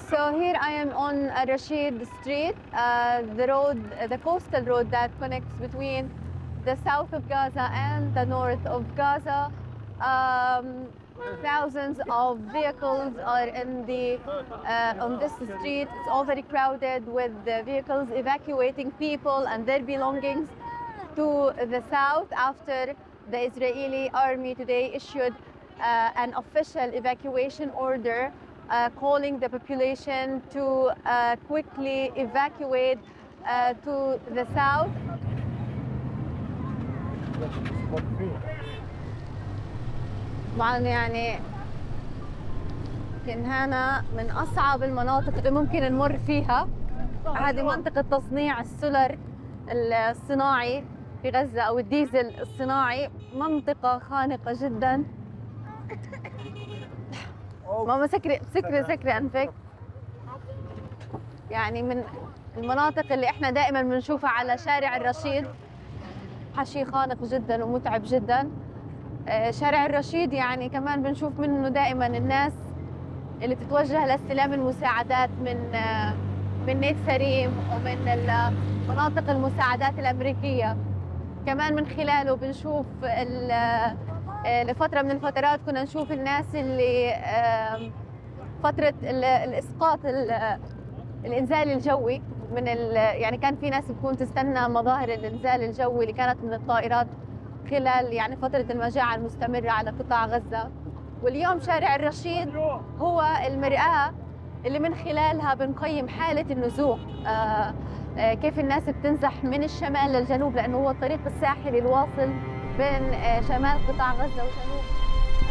So here I am on Rashid Street, the coastal road that connects between the south of Gaza and the north of Gaza. Thousands of vehicles are on this street. It's all very crowded with the vehicles evacuating people and their belongings to the south after the Israeli army today issued an official evacuation order calling the population to quickly evacuate to the south. طبعا يعني يمكن هنا من أصعب المناطق اللي ممكن نمر فيها. هذه منطقة تصنيع السولر الصناعي في غزة أو الديزل الصناعي. منطقة خانقة جدا. ماما سكري أنفك. يعني من المناطق اللي احنا دائما بنشوفها على شارع الرشيد. حشي خانق جدا ومتعب جدا. شارع الرشيد يعني كمان بنشوف منه دائما الناس اللي بتتوجه لاستلام المساعدات من نيت سريم ومن مناطق المساعدات الأمريكية. كمان من خلاله بنشوف لفترة من الفترات كنا نشوف الناس اللي فترة الإسقاط الإنزال الجوي يعني كان في ناس بتكون تستنى مظاهر الإنزال الجوي اللي كانت من الطائرات خلال يعني فترة المجاعة المستمرة على قطاع غزة. واليوم شارع الرشيد هو المرآة اللي من خلالها بنقيم حالة النزوح. كيف الناس بتنزح من الشمال للجنوب لأنه هو الطريق الساحلي الواصل بين شمال قطاع غزة وجنوب